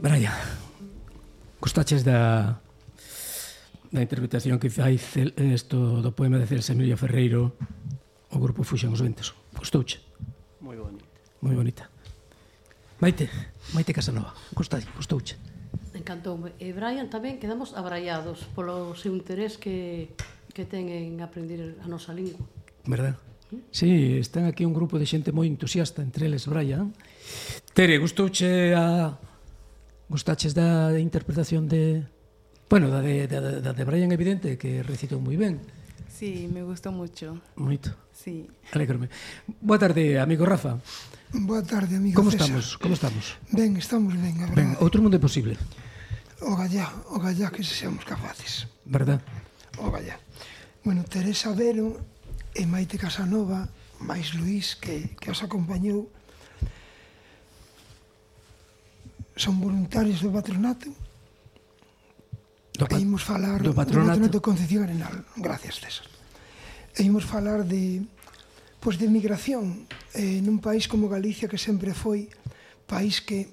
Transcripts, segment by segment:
Brian, gostaches da interpretación que fai isto do poema de Celsa Emilio Ferreiro, o grupo Fuxen os Ventos? Gostouche? Moi bonita. Moi bonita. Maite Casanova, gostouche? Encantoume. E Brian tamén quedamos abraiados polo seu interés que ten en aprender a nosa lingua. Verdad? Sí, están aquí un grupo de xente moi entusiasta, entre eles Brian. Tere, gostaches da interpretación de... Bueno, da de Brian, evidente, que recitou moi ben. Sí, me gustó mucho. Moito. Sí. Alégrome. Boa tarde, amigo Rafa. Boa tarde, amigo César. Como estamos? Ben, estamos ben, a verdade. Ben, outro mundo é posible. O gallá que seamos capaces. Verdad? O gallá. Bueno, Teresa Vero e Maite Casanova, máis Luís, que os acompañou, son voluntarios do patronato. E imos falar do patronato Concepción Arenal. Gracias, César. E imos falar de migración nun país como Galicia, que sempre foi país de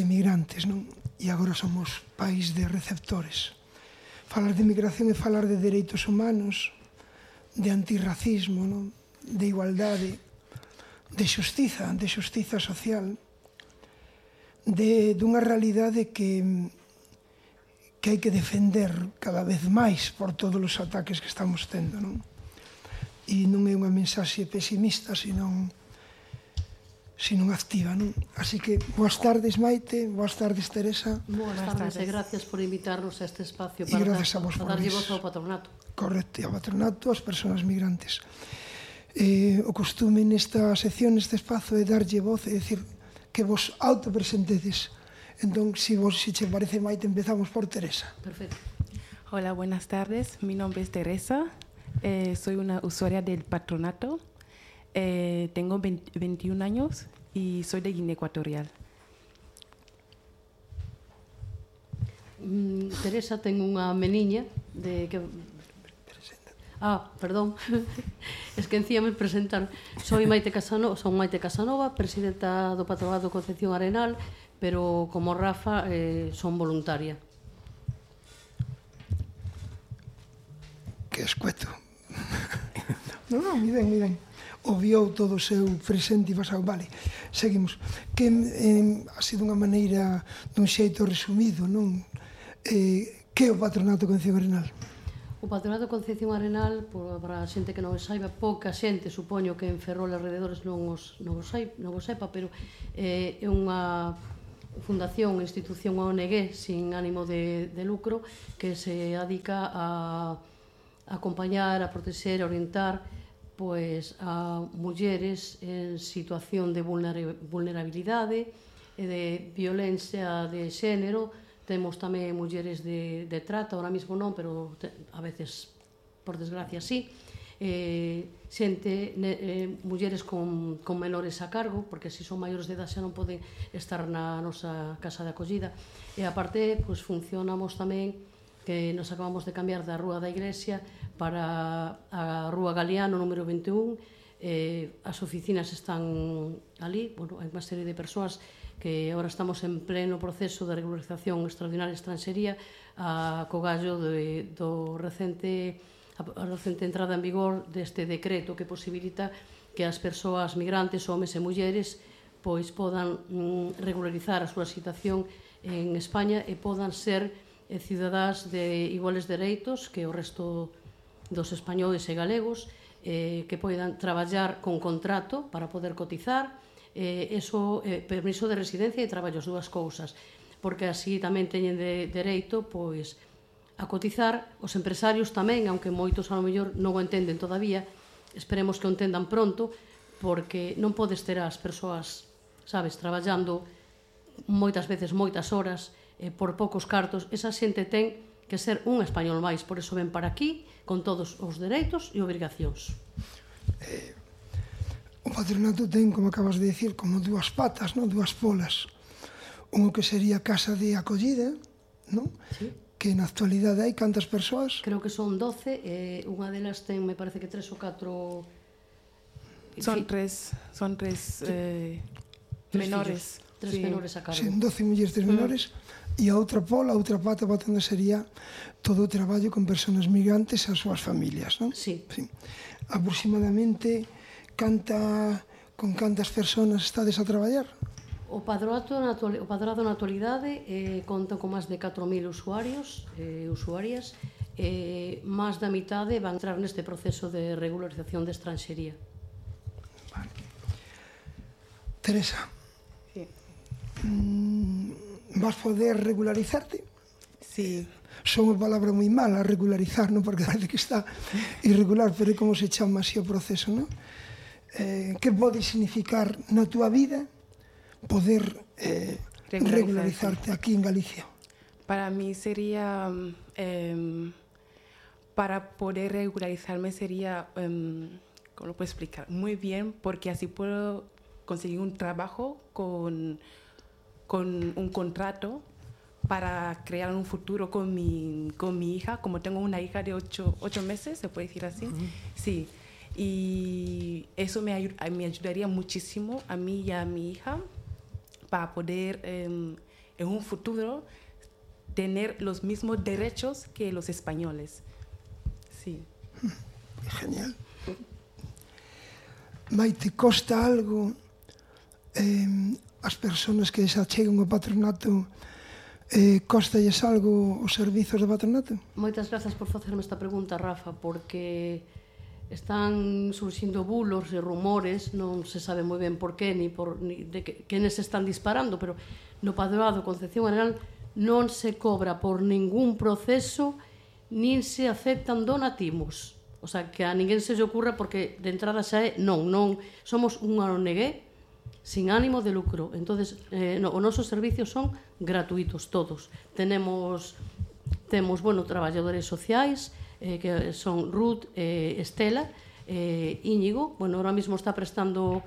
migrantes, non? E agora somos país de receptores. Falar de migración é falar de dereitos humanos, de antirracismo, non? De igualdade, de xustiza social, dunha realidade que hai que defender cada vez máis por todos os ataques que estamos tendo, non? E non é unha mensaxe pesimista, senón activa, non? Así que, boas tardes, Maite, boas tardes, Teresa. Boas tardes e gracias por invitarnos a este espacio para darlle voz ao patronato. Correcto, ao patronato, ás persoas migrantes. O costume nesta sección, neste espazo, é darlle voz, é dicir, que vos autopresentedes. Entón, si che parece, Maite, empezamos por Teresa. Perfecto. Hola, buenas tardes. Mi nombre es Teresa. Soy una usuaria del patronato. Tengo 21 años y soy de Guinea Ecuatorial. Teresa ten unha meniña perdón. Es que encima me presentar. Son Maite Casanova, presidenta do Patronato Concepción Arenal, pero como Rafa son voluntaria. Que escueto. Non, mi ben. Obviou todo o seu presente e pasado. Vale, seguimos. Que ha sido unha maneira, dun xeito resumido, non? Que é o Patronato Concepción Arenal? O Patronato Concepción Arenal, para a xente que non o saiba, pouca xente, supoño que en Ferrol e alrededores non o sepa, pero é unha fundación, institución ONG sin ánimo de lucro que se dedica a acompañar, a protexer, a orientar a mulleres en situación de vulnerabilidade e de violencia de xénero. Temos tamén mulleres de trata, ahora mismo non, pero a veces, por desgracia, sí. Mulleres con menores a cargo, porque se son maiores de edad xa non poden estar na nosa casa de acollida. E aparte, funcionamos tamén, que nos acabamos de cambiar da Rúa da Iglesia para a Rúa Galeano, número 21. As oficinas están ali, hai unha serie de persoas que agora estamos en pleno proceso de regularización extraordinaria de estranxería co gallo a recente entrada en vigor deste decreto que posibilita que as persoas migrantes, homes e mulleres, podan regularizar a súa situación en España e podan ser cidadás de iguales dereitos que o resto dos españoles e galegos, que poidan traballar con contrato para poder cotizar, permiso de residencia e traballo, as dúas cousas, porque así tamén teñen dereito a cotizar. Os empresarios tamén, aunque moitos a lo mellor non o entenden todavía, esperemos que o entendan pronto, porque non podes ter as persoas, sabes, traballando moitas veces moitas horas por poucos cartos. Esa xente ten que ser un español máis, por iso ven para aquí con todos os dereitos e obrigacións. O patronato ten, como acabas de decir, como dúas patas, dúas polas. Un que sería casa de acollida, Sí. Que na actualidade hai cantas persoas? Creo que son 12, unha delas ten, me parece que 3 ou 4... Son tres menores. 3 menores a cargo. Sen 12 mulleres, 3 menores, e a outra pola, a outra pata onde sería todo o traballo con persoas migrantes e as súas familias, non? Sí. Aproximadamente, con cantas persoas estades a traballar? O padrado na actualidade conta con máis de 4.000 usuarios e usuarias, máis da mitade van entrar neste proceso de regularización de estranxería. Vale. Teresa, Sí. vas poder regularizarte? Sí. Son unha palabra moi mala, regularizar, non? Porque parece que está irregular, pero é como se chama así o proceso, non? Que pode significar na túa vida poder regularizarte aquí en Galicia? Para mí sería, para poder regularizarme sería, ¿cómo lo puedo explicar? Muy bien, porque así puedo conseguir un trabajo con un contrato para crear un futuro con mi hija. Como tengo una hija de 8 meses, se puede decir así. Sí. Y eso me ayudaría muchísimo a mí y a mi hija para poder en un futuro tener los mismos derechos que los españoles. Sí. Genial. Maite, costa algo as persoas que se achegan ao patronato, costalles algo os servizos do patronato? Moitas grazas por facerme esta pregunta, Rafa, porque están surxindo bulos e rumores, non se sabe moi ben por qué, ni de quenes se están disparando, pero no Padroado Concepción Arenal non se cobra por ningún proceso, nin se aceptan donativos. O sea, que a ninguén se lle ocurra, porque de entrada xa é non, somos unha ONG sin ánimo de lucro. Entonces, os nosos servicios son gratuitos todos. Temos, traballadores sociais, que son Ruth, Estela, Íñigo. Ahora mismo está prestando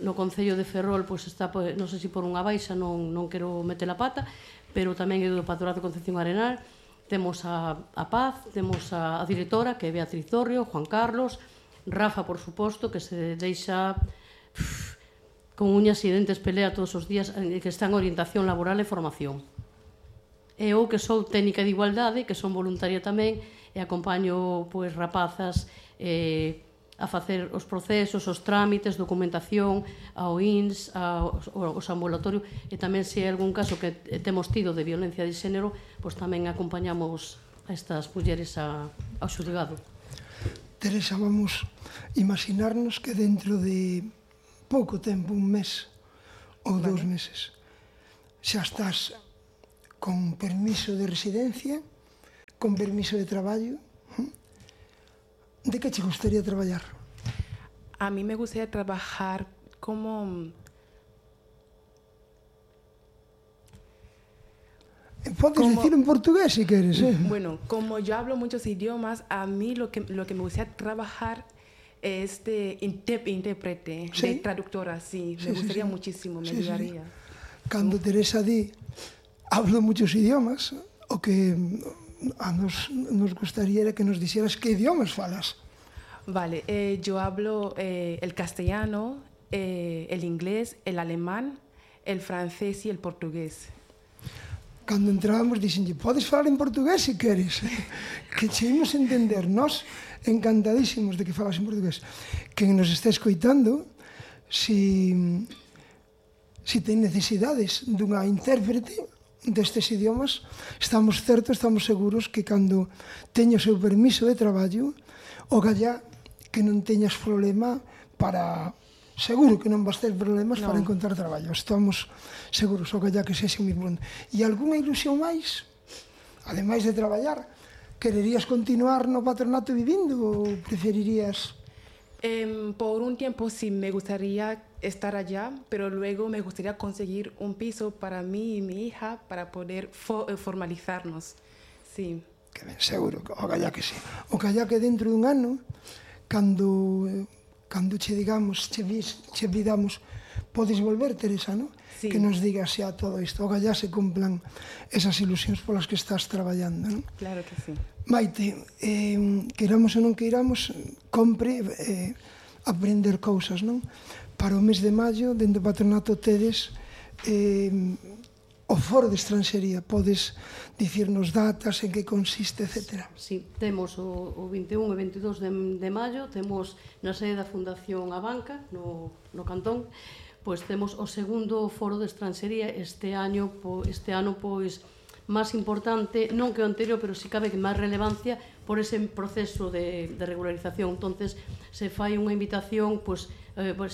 no Concello de Ferrol, pois está, non sei se por unha baixa, non quero meter a pata, pero tamén é do Patronato de Concepción Arenal. Temos a Paz, temos a directora, que é Beatriz Dorrio, Juan Carlos, Rafa, por suposto, que se deixa con uñas e dentes pelea todos os días, que está en orientación laboral e formación. E eu, que sou técnica de igualdade, que son voluntaria tamén, e acompaño rapazas a facer os procesos, os trámites, documentación, ao INS, aos ambulatorios, e tamén se hai algún caso que temos tido de violencia de xénero, pois tamén acompañamos a estas mulleres ao xulgado. Teresa, vamos imaginarnos que dentro de pouco tempo, un mes ou 2 meses, xa estás con permiso de residencia, con permiso de traballo. ¿De qué te gustaría traballar? A mí me gustaría trabajar como... Puedes decir en portugués si quieres. Bueno, como yo hablo muchos idiomas, a mí lo que me gustaría trabajar es de intérprete, ¿sí? De traductora, sí. Me gustaría muchísimo, me ayudaría. Cuando Teresa di, hablo muchos idiomas, o que nos gustaría que nos dijeras qué idiomas falas. Vale, yo hablo el castellano, el inglés, el alemán, el francés y el portugués. Cuando entrábamos dicen, podes falar en portugués si queres, que cheimos entender, nós encantadísimos de que falas en portugués. Quen nos está escoitando, si ten necesidades dunha intérprete destes idiomas, estamos seguros que cando teña o seu permiso de traballo, o gallá que non teñas problema para... Seguro que non vas ter problemas para encontrar traballo. Estamos seguros, o gallá que sexa moi bon. E algunha ilusión máis? Ademais de traballar, quererías continuar no patronato vivindo ou preferirías... Por un tiempo sí me gustaría estar allá, pero luego me gustaría conseguir un piso para mí y mi hija para poder formalizarnos. Sí. Que ben, seguro, o gallá que sí. O gallá que dentro dun ano, cando che digamos, che vidamos, podes volver, Teresa, non? Sí. Que nos digas xa todo isto. O gallá se cumplan esas ilusións polas que estás traballando, non? Claro que sí. Maite, queiramos ou non queiramos, compre aprender cousas, non? para o mes de maio, dentro do patronato tedes o foro de estranxería. Podes dicirnos datas, en que consiste, etc. Sí, temos o 21 e 22 de maio, temos na sede da Fundación Abanca, no Cantón, pois temos o segundo foro de estranxería este ano, pois, máis importante, non que o anterior, pero si cabe que máis relevancia por ese proceso de regularización. Entonces, se fai unha invitación, pois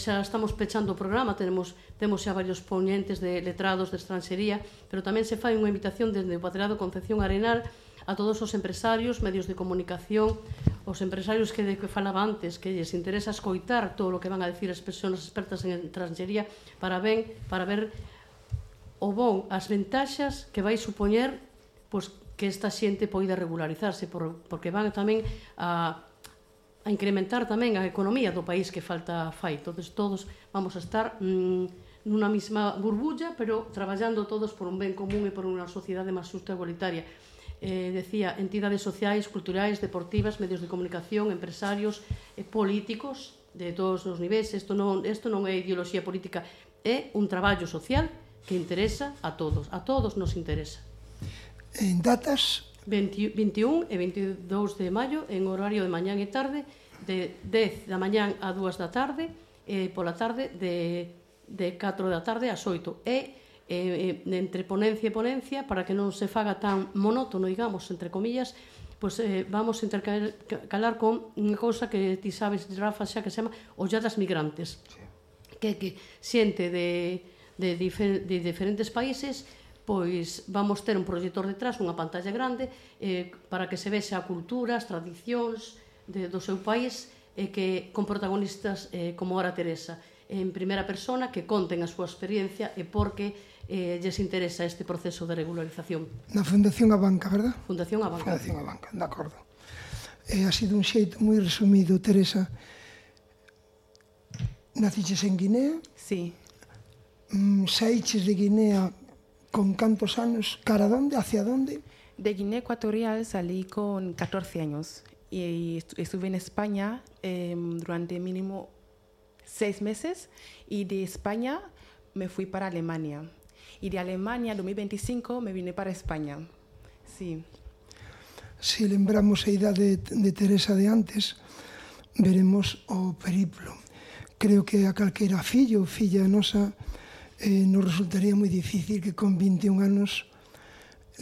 xa estamos pechando o programa, temos xa varios ponentes de letrados de estranxería, pero tamén se fai unha invitación desde o Patronato Concepción Arenal a todos os empresarios, medios de comunicación, os empresarios que falaba antes, que lles interesa escoitar todo o que van a decir as persoas expertas en estranxería para ver as ventaxas que vai supoñer pois, que esta xente poida regularizarse, porque van tamén a incrementar tamén a economía do país que falta fai. Entonces, todos vamos a estar nunha mesma burbulla, pero traballando todos por un ben común e por unha sociedade máis xusta e igualitaria. Decía, entidades sociais, culturais, deportivas, medios de comunicación, empresarios, políticos de todos os niveis. Isto non é ideoloxía política, é un traballo social que interesa a todos nos interesa. En datas? 21 e 22 de maio, en horario de mañán e tarde, de 10 da mañán a 2 da tarde, e pola tarde de 4 da tarde ás 8. E entre ponencia e ponencia, para que non se faga tan monótono, digamos, entre comillas, pois vamos a intercalar con unha cousa que ti sabes, Rafa, xa que se chama Olladas Migrantes, que xente de diferentes países, pois vamos ter un proxector detrás, unha pantalla grande, para que se vexa a cultura, as tradicións do seu país, con protagonistas como Ora Teresa, en primeira persona, que conten a súa experiencia e por que lles interesa este proceso de regularización. Na Fundación Abanca, verdad? Fundación Abanca. Fundación Abanca, de acordo. Ha sido un xeito moi resumido, Teresa. Naciches en Guinea? Sí. Saíches de Guinea con cantos anos? Cara donde? Hacia donde? De Guinea Ecuatorial salí con 14 años y estuve en España durante mínimo 6 meses y de España me fui para Alemania. Y de Alemania, en 2025, me vine para España. Sí. Si lembramos a idade de Teresa de antes, veremos o periplo. Creo que a calquera fillo ou filla nosa nos resultaría moi difícil que con 21 anos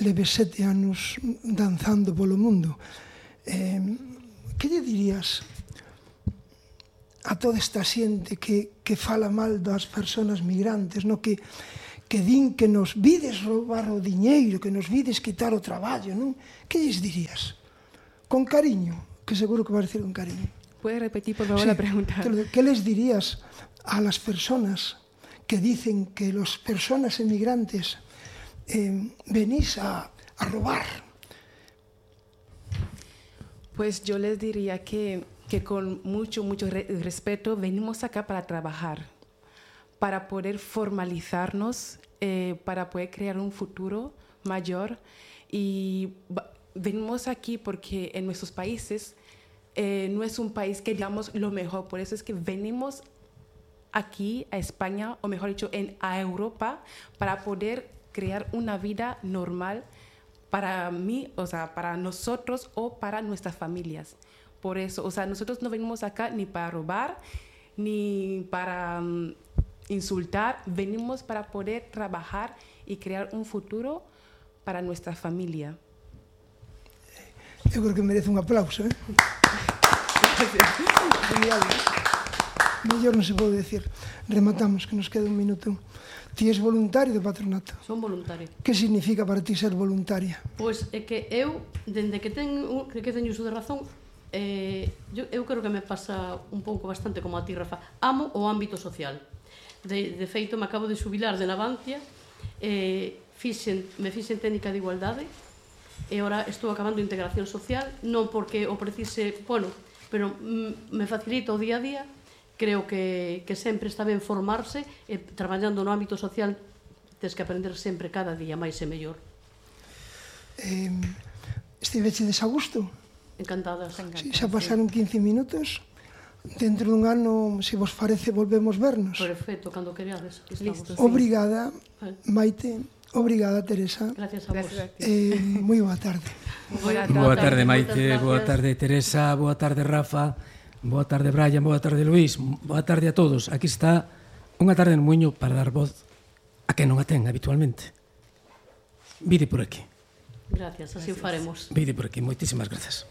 leve 7 anos danzando polo mundo. Que lle dirías a toda esta xente que fala mal das persoas migrantes, no? que din que nos vides roubar o diñeiro, que nos vides quitar o traballo, non? Que lles dirías? Con cariño, que seguro que vas a decir con cariño. ¿Puedes repetir, por favor, la pregunta? ¿Qué les dirías a las personas que dicen que las personas emigrantes venís a robar? Pues yo les diría que con mucho respeto venimos acá para trabajar, para poder formalizarnos, para poder crear un futuro mayor. Y venimos aquí porque en nuestros países no es un país que digamos lo mejor. Por eso es que venimos aquí a España, o mejor dicho, a Europa, para poder crear una vida normal para mí, o sea, para nosotros o para nuestras familias. Por eso, o sea, nosotros no venimos acá ni para robar, ni para insultar, venimos para poder trabajar y crear un futuro para nuestra familia. Eu creo que merece un aplauso, ¿eh? Genial. Mellor non se pode decir. Rematamos, que nos queda un minuto. Ti és voluntario do patronato? Son voluntario. Que significa para ti ser voluntaria? Pois é que eu, dende que teño uso de razón, eu creo que me pasa un pouco bastante como a ti, Rafa. Amo o ámbito social. De feito, me acabo de xubilar de Navantia, me fixen técnica de igualdade, e ora estou acabando integración social, non porque o precise, bueno, pero me facilita o día a día. Creo que sempre está ben formarse, e traballando no ámbito social tens que aprender sempre cada día máis e mellor. Estiveche desagusto? Encantada. Sí, xa pasaron 15 minutos. dentro dun ano, se vos parece, volvemos vernos. Perfecto, cando quereades. Aquí estamos. Listo. Obrigada, Maite. Obrigada, Teresa. Gracias a vos. Gracias a ti. Moi boa tarde. Boa tarde, moitas Maite, boa gracias. tarde, Teresa, boa tarde, Rafa, boa tarde, Brian, boa tarde, Luís, boa tarde a todos. Aquí está unha tarde no Muiño para dar voz a quen non a ten habitualmente. Vide por aquí. Gracias, así o faremos. Vide por aquí, moitísimas grazas.